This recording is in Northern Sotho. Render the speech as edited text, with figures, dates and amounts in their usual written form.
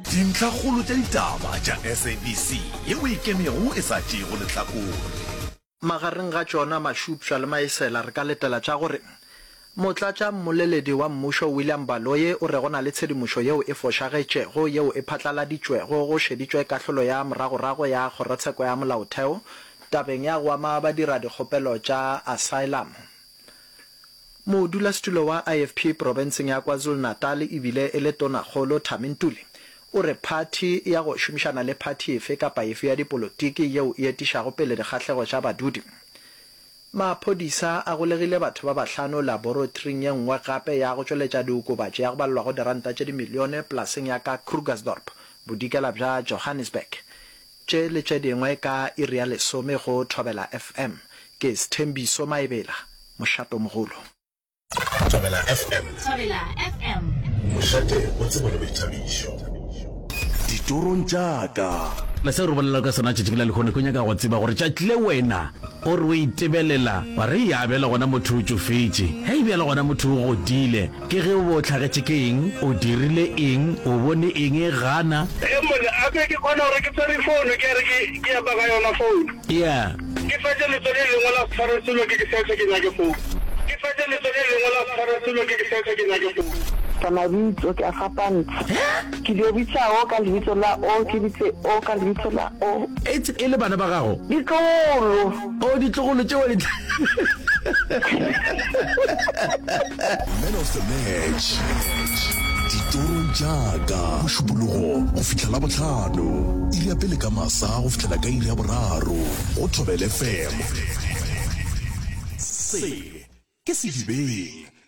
Dintlhakgolo tša ditaba tša SABC yeo e ikemego e sa tšeego lehlakore. Magareng ga tšona mašupša le maesela re ka letela tša gore Motlatša mmoleledi wa mmušo William Baloyi o re go na le tshedimošo yeo e fošagetšego yeo e phatlaladitšwego go šeditšwe kahlolo ya moragorago ya Kgorotsheko ya Molaotheo tabeng ya go ama badiradikgopelo tša asylum. Modulasetulo wa IFP profenseng ya KwaZulu-Natal e bile e le Tonakgolo Thami Ntuli o re phathi ya go šomišana le phathi efe kapa efe ya dipolotiki yeo e etišago pele dikgahlego tša badudi. Maphodisa a golegile batho ba bahlano laboratoring ye nngwe gape ya go tšweletša diokobatši ya go balelwa go diranta tše dimilione polaseng ya ka Krugersdorp, bodikela bja Johannesburg. Tše le tše dingwe ka iri ya lesome go Thobela FM. Ke Sthembiso Maebela, mošatomogolo. Thobela FM. Thobela FM. Mošate wa tsebo le boithabišo. Ditorong tša ka. Le seo re bolelago ka sona tšatši la lehono, ke nyaka go tseba gore tšatši le wena o re o itebelela wa re ya bjale gona motho o tšofetše, hei bjale gona motho o godile, ke ge o be o hlagetše ke eng, o dirile eng, o bone eng e gana. Ee monna, a be ke kgona gore ke tshwere founu ke re ke ke epa ka yona founu. Yeah. Ke fetše letso le lengwe la se tshware selo ke ke search ke nyake founu. Ke fetše letso le lengwe la se tshware selo ke ke search ke nyake founu. Ka mabitso ke a fapantsha. Ke dio bitsa o ka lebitso la o, ke bitse o ka lebitso la o. Etse e le bana ba gago? Ditlogolo. O, ditlogolo tšeo di tla. Man of the match, Ditorong tša ka, Mošupologo go fihla Labohlano, iri ya pele ka masa go fihlela ka iri ya boraro go Thobela FM. Se ke Sedibeng.